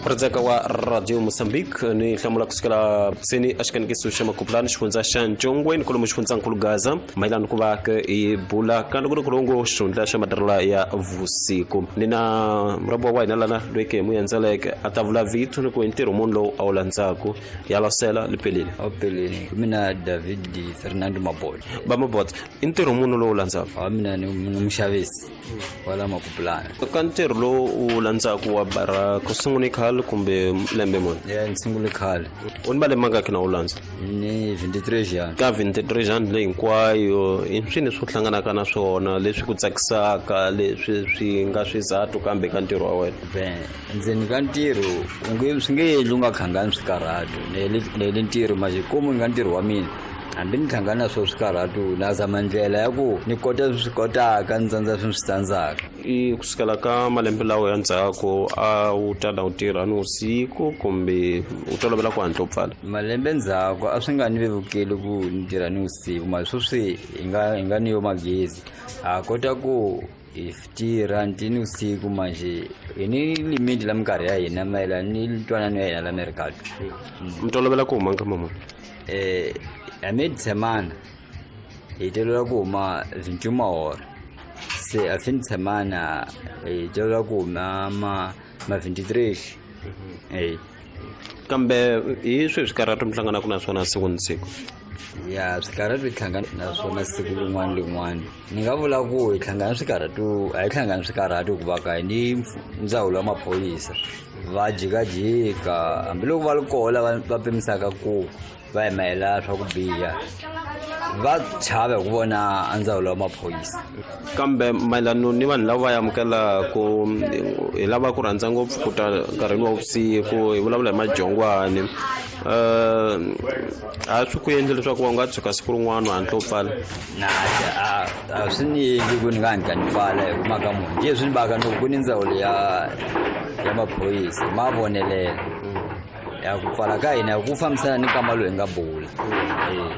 Redzeka wa Radio Mozambique ni hlamula kusukela seni exikanikiso xa Makupulani, xifundza xa Ncongweni, kolomu xifundzankulu Gaza, mayelana ku va ke hi bula ka nongonoko xihundla xa matirhelo ya vusiku. Ni na murhabiwa wa hina lana loyi ke hi mu endzeleke a ta vula vito ni ku i ntirho muni lowu a wu landzaku. Ya lasela lipeleni. Awupeleni, mina David Fernando Mabolo. Va Mabot, i ntirho muni lowu landzaku? Wa mina ni muxavisi wala Makupulani. Ka ntirho lowu u landzaku wa bara, ku sungule khale kumbe lembe muni? Ya, ni sungule khale. U ni malembe mangaki na u landza? Ni 23 ans. Ka 23 ans leyi hinkwayo, i swini leswi u hlanganaka na swona leswi ku tsakisaka, leswi swi nga swizathu kambe ka ntirho wa wena? Ben, ndzeni ka ntirho u nge swi nge endli u nga khangani swikarhato. Nele ntirho manje komu nga ntirho wa mina, hambi ni hlangana na swo swikarhato, na zama ndlela ya ku ni kota swi swi kotaka, ni tsandza swi swi tsandzaka. I kusukela ka malembe lawa ya ndzhaku, a wu tala u tirha ni vusiku kumbe u tolovela ku hatla u pfala? Malembe ndzhaku a swi nga ni vevukeli ku ni tirha ni vusiku, mara sweswi hi nga ni yo magezi, ha kota ku hi tirha ntini vusiku. Manje hi ni limiti la minkarhi ya hina mayelana ni ntwanano ya hina la mercado. Mi tolovela ku huma nkama muni? A mid semana hi tolovela ku huma 21 hora, se a fin de semana hi tolovela ku huma ma 23, eh. Kambe hi swihi swikarhato mi hlanganaka na swona siku ni siku? Ya, swikarhato hi hlangana na swona siku rin'wana lin'wana, ni nga vula ku hi hlangana swikarhato, a hi hlangani swikarhato hikuva ka hi ni ndzawulo ya maphorisa, va jikajika. Hambiloko va ri koho lava va pimisaka ku va hi mayelana swa ku biha, va chava hi ku vona a ndzawulo ya maphorisa. Kambe mayelano ni vanhu lava va amukelaku, hi lava ku rhandza ngopfu ku ta nkarhini wa vusiku, hi vulavula hi majongwani, a swi ku endli leswaku va nga tshuka siku rin'wana u hatla u pfala? Na, a swi ni endli ku ni nga hatla ni pfala, hi ku mhaka munhu njhe swi ni baka ni ku ni ndzawulo ya maphorisa ma vonelela ya ku pfala ka hina ku fambisana ni nkama lowu hi nga bula, eh.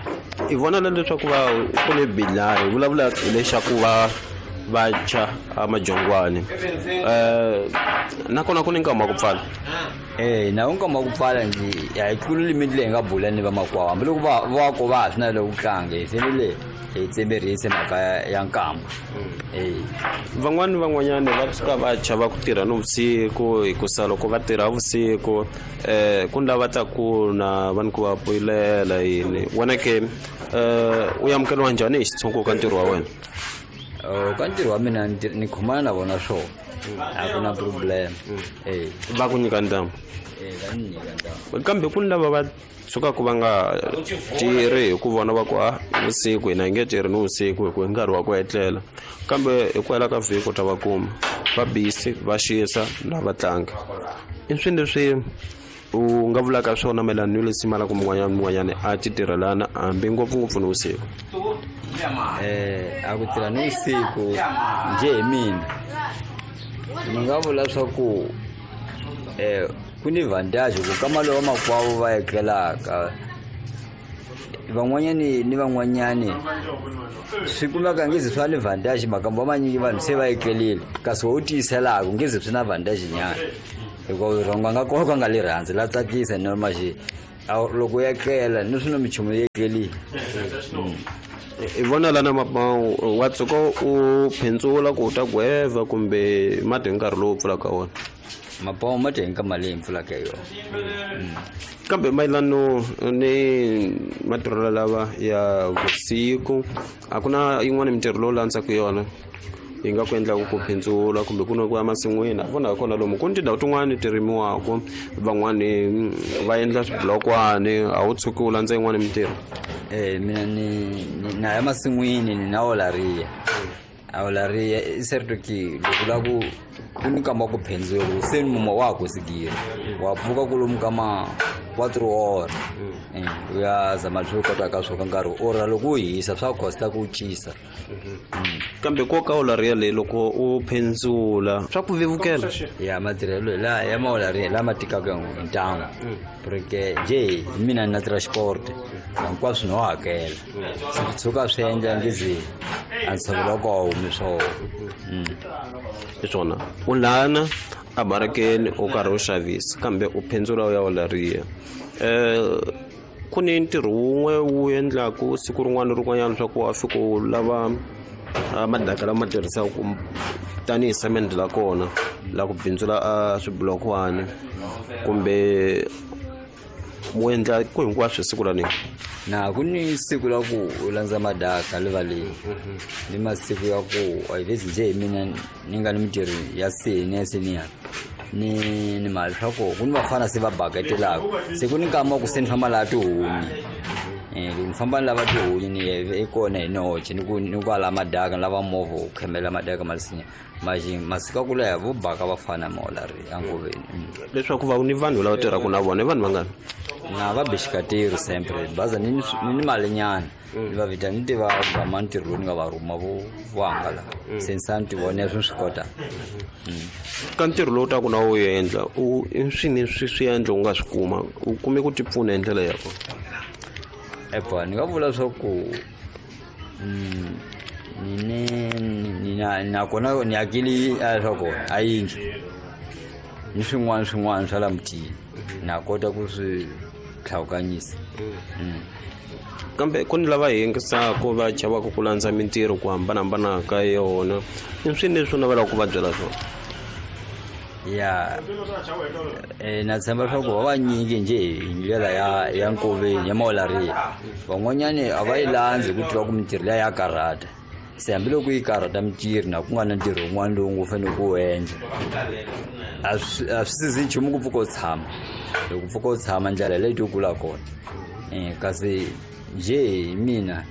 I vona na leswaku va ku ni bilari, hi vulavula leswaku va va tshwa a majongwani, nakona ku ni nkama wa ku pfala? Eh, na wu nkama wa ku pfala nje a hi tluli limiti leyi hi nga bula ni vamakwavo. Hambiloko va ko va ha swi navela ku tlanga, hi fanele hi tsemerisa mhaka ya nkama, eh. Van'wani van'wanyani va tshuka va chava ku tirha nivusiku, hikusa loko va tirha vusiku, ku ni lava taku na va ni ku va poyilela yini. Wena ke, u amukeliwa njhani hi xitshungu ka ntirho wa wena? Ka ntirho wa mina ni khomana na vona swona, a ku na problem, eh. Va ku nyika ntamu? Eh, va ni nyika ntamu. Kambe ku ni lava va tshukaku va nga tirhi hi ku vona va ku a vusiku hina hi nge tirhi ni vusiku, hi ku hi nkarhi wa ku etlela, kambe hi ku hela ka vhiki u ta va kuma va busy, va xisa na va tlanga. I swini leswi u nga vulaka swona mayelana ni leswi la ku mun'wanyana mun'wanyana a ti tirhelana, hambi ngopfungopfu ni vusiku? A ku tirha ni vusiku njhe, hi mina ni nga vula swa ku ku ni vantage ku kama lowa makwavo va etlelaka van'wanyani ni van'wanyani, swi kumeka ngezi swa ni vantage. Makambo manyingi vanhu se va etlelile, kasi wo tiyiselaka ngezi swi na vantage nyana, hikuva rhongo nga kona ka nga le rhandzi la tsakisa normal. Loko ya tlela ni swi na minchumu yi etlelile. I vona lana wa tshuka u phentsula ku u ta gweva kumbe mati hi nkarhi lowu pfulaka wona? Mapawu ma dya hi nkama leyi pfulaka hi yona. Kambe mayelano ni matirhelo lava ya vusiku, a ku na yin'wana mintirho lowu landzaka yona yi nga ku endlaku ku phindzula, kumbe ku na ku ya masin'wini? A vona kona lomu ku ni tindhawu tin'wani ti rimiwaku, van'wani va endla swiblokwani. A wu tshuki u landza yin'wani mintirho? Eh, mina ni na ya masin'wini, ni na olaria. A olaria i certo que loko la ku ku ni kamba ku phendzula se ni muma wa ha kusigile, wa pfuka kulomu ka ma 4 hora, u ya zama leswi u kotaka swo ka nkarhi ora loko u hisa swa costa ku cisa. Kambe ko ka olaria leyi, loko u phendzula swa ku vevukela? Ya, matirhelo hi laha ya maolaria lama tikaka hi ntamu, porque njhe hi mina ni na transport, hinkwaswo no hakela, swi tshuka swi endla ngizi a ntshovelo wa koho humi swona. Hi swona u lana. a barakeni u karhi u xavisa kambe u phendzula u ya olariya. Ku ni ntirho wun'we wu endlaku siku rin'wana na rin'wanyana leswaku wa fika u lava madaka lama tirhisaka tanihi semende la kona la ku bindzula a swibulokwani kumbe mu endla ku hinkwaswo siku ra nini? Na ku ni siku la ku u landza madaka rivaleni, ni masiku ya ku a vhezi njhe hi mina ni nga ni mintirho ya seni ya seniya ni mali swa ku ku ni vafana se va baketelaka, se ku ni nkama wa ku se ni famba laha tihunyi. Loko ni famba ni lava tihunyi ni i kona hi noxe ni ku ni ku ala madaka ni lava movha wu khemela madaka ma lisinya maxi masiku ya ku leha vo baka vafana maolari enkoveni. Leswaku va ni vanhu lava tirhaka na vona i vanhu vangani? Na va bixikateri sempre baza ni ni malinyana ni va vita ni tiva gama ntirho lowu ni nga va rhuma vo vo hangala se ni sa ni tivona swi swi kota. Ka ntirho lowu taku na wu endla u i swini swi swi endla u nga swi kuma u kume ku ti pfuna hi ndlela ya kona? Epa ni nga vula swa ku ni ni na nakona ni akile swa kona a yindlu ni swin'wana swin'wana swa la mutini na kota ku swi tlhawukanyisa. Kambe ku ni lava yingisaka va chavaka ku landza mintirho ku hambanahambana ka yona, i swini leswi u navelaka ku va byela swona? Ya, na tshemba leswaku va vanyingi njhe hi ndlela ya nkoveni ya maolariya van'wanyani a va yi landzi ku tiva ku mintirho liya ya karhata, se hambiloko yi karhata mintirho na ku nga na ntirho wun'wana lowu nga fanele ku wu endla a swi sizi nchumu ku pfuka u tshama, loko pfuka u tshama ndlela leyi to kula kona. Kasi njhe hi mina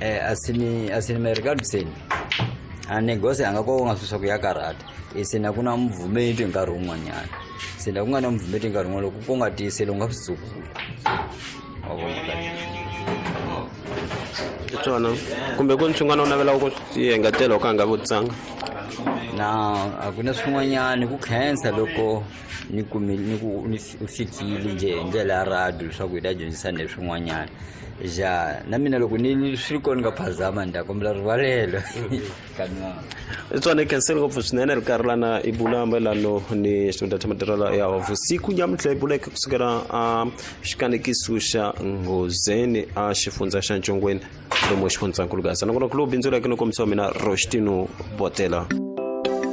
a swi ni merikadiseni a negosi a nga ko nga swi swa ku ya karhata, se na ku na muvhumeti nkarhi wun'wanyana, se na ku nga na muvhumeti nkarhi wun'wana loko ku nga tiyiseli u nga swi tsukula. Swona kumbe ku ni swin'wana u navelaka ku swi engetela u ka nga vutisanga? Na a ku na swin'wanyana ku khensa loko ni kumi ni ku ni fikile njhe hi ndlela ya radio leswaku hi ta dyondzisa ni swin'wanyana. Ja na mina loko ni swi ri kona nga phazama ni ta kombela rivalelo. Tswana khenseli ngopfu swinene ri karhi lana i bula mayelano ni xitunda xa matirhelo ya vusiku nyamuntlha i buleke kusukela a xikanekiso xa Nghozeni a xifundza xa Ncongweni lomu xifundzankulu Gaza nakona ku lowu bindzu leke no kombisiwa mina Roshtino Botela.